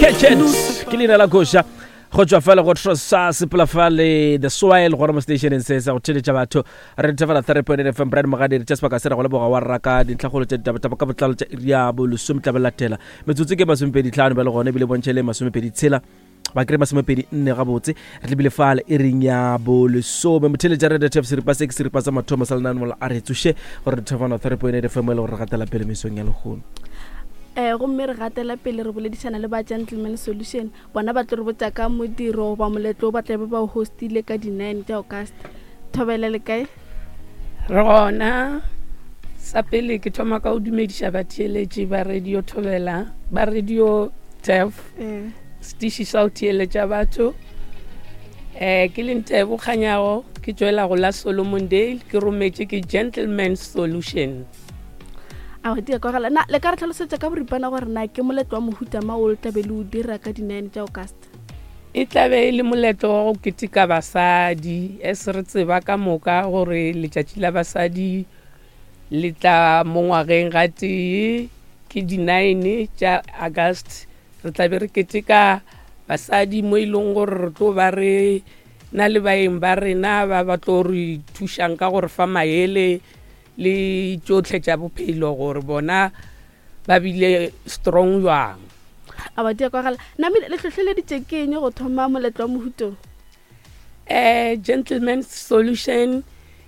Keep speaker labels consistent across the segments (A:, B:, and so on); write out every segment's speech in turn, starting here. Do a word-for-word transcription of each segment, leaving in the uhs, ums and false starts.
A: Catch it ke leina la koša go tswa fela go trosa sepela fale the soil gona mo stationeng se sa go theletša batho re thefela three point eight fm brand mogadiri tša sebaka se re go leboga wa raka dintlhakgolo tša ditabataba ka botlalo tša iri ya bolesome tla be latela metsotso ke masomepedi tlhano ba le gone ebile bontšhe le masomepedi tshela ba kry masomepedi nne gabotse re tlebile fale e reng ya bolesome motheletša red tf seripa se ke seripa sa mathomo sa lenaneo la a re tsoše gore re thefana three point eight fm e le gore re gatela pele mesong ya lehono
B: um gomme re gatela pele re boledišana le ba gentleman solution bona ba tlo re botsa ka modiro goba moletlo o ba tlabe ba o hostile ka di-nine tša august thobela le kae
C: re gona sa pele ke thoma ka go dumediša batheeletši ba radio thobela ba radio tef
B: Eh,
C: setiši sa go theeletša batho um ke le ntebo kganyago ke tšwela go la solomon dale ke rometše ke gentleman solution
B: a di a kwagala na le ka re tlhalosetša ka boripana gore na ke moletlo wa mohuta ma o le tlabe le o dira ka di-nine tša august
C: e tlabe e le moletlo wa go keteka basadi as re tseba ka moka gore letšatši la basadi le tla mo ngwageng ga tee ke di-nine tša august re tlabe re keteka basadi mo e leng gore re tlo ba re na le baeng ba rena ba ba tlo re thušang ka gore fa maele le tšohle tša bophelo gore bona ba bile strong jwang
B: a ba di a kwagala namile le hlohleleditše ke eng go thoma moletlo wa mohutong
C: eh gentleman solution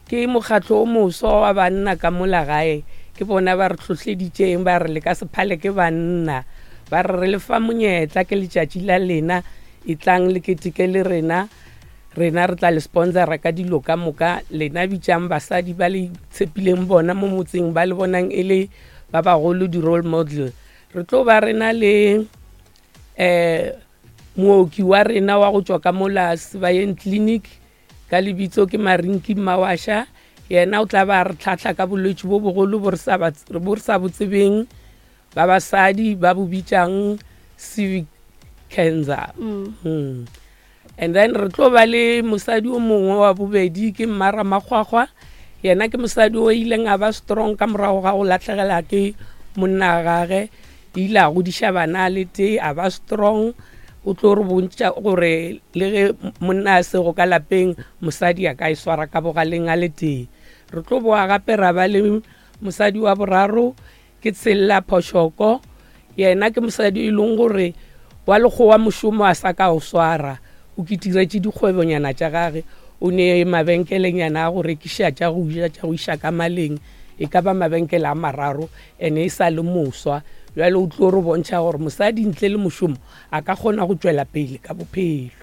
C: ke mokgatlo o moswa wa banna ka mola gae ke bona ba re hlohleditšeng ba re le ka se phale ke banna ba re re le fa monyetla ke letšatši la lena e tlang le keteke le rena rena re tla le sponsora ka dilo ka moka lena bitšang basadi ba le tshepileng bona mo motseng ba le bonang e le ba bagolo di-role model re tlo ba rena le eh mooki wa rena wa go tšwa ka mola sebayeng clinic ka lebitso ke marinki mawasha yena o tla ba re tlhahla ka bolwetši bo bogolo bo re sa ba- bo re sa bo tsebeng ba basadi ba bo bitšang cervical cancer
B: Mm.
C: mm. and then re tlo ba le mosadi o mongwe wa bobedi ke mmara makgwakgwa yena ke mosadi o ileng a ba strong ka morago ga go latlhegela ke monna gage ile a godiša bana a le tee a ba strong o tlo re bontšha gore le ge monna a sego ka lapeng mosadi a ka e swara ka bogaleng a le tee re tlo boa gape ra ba le mosadi wa boraro ke tshella phošoko yena ke mosadi e leng gore wa lekgowa mošomo a sa ka o swara o ketiretše dikgwebonyana tša gage o ne mabenkelenyana a go rekiša tša go ja tša go iša ka maleng e ka ba mabenkele a mararo ene e sa le moswa bjale o tlo re bontšha gore mosadi ntle le mošomo a ka kgona go tšwela pele ka bophelo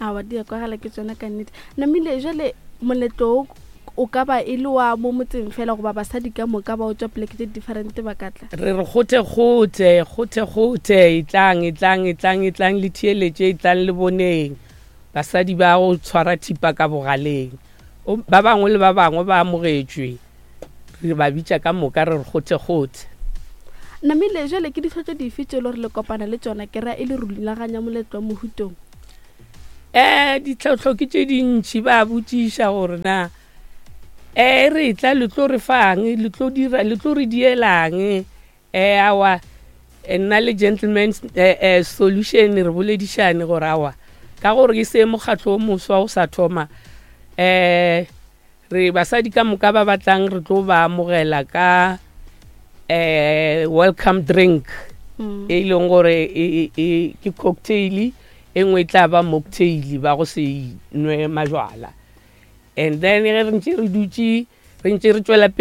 B: awa di a kwagala ke tsona ka nnete namile jale moletlo o o ka ba e le wa mo motseng fela goba basadi ka moka ba o tswa poleke tse different ba ka tla
C: re re kgothe kgothe kgothe kgothe e tlang e tlang e tlang e tlang le theeletše e tlang le boneng basadi ba go tshwara thipa ka bogaleng O- ba bangwe le ba bangwe ba amogetšwe re ba bitša ka moka re re kgothe kgothe
B: namile jale ke ditlhotlo dife tse e le gore le kopana le tsona ke ra e le rulaganya moletlo wa mohutong
C: um ditlhohlo ke tše dintšhi ba botšiša gore na um re tla le tlo re fang le tlo dira le tlo re dielang um awa eh, nna le gentleman eh, eh, solution re boledišane gore awa ka gore ke se mokgatlo o moswa o sa thoma um re basadi ka moka ba batlang re tlo ba amogela ka um welcome drink
B: Mm.
C: e leng gore e- e- e- ke cocktail e nngwe e tla ba mocktail ba go se nwe majwala and then ge re ntse re dutše re ntse re tšwela pele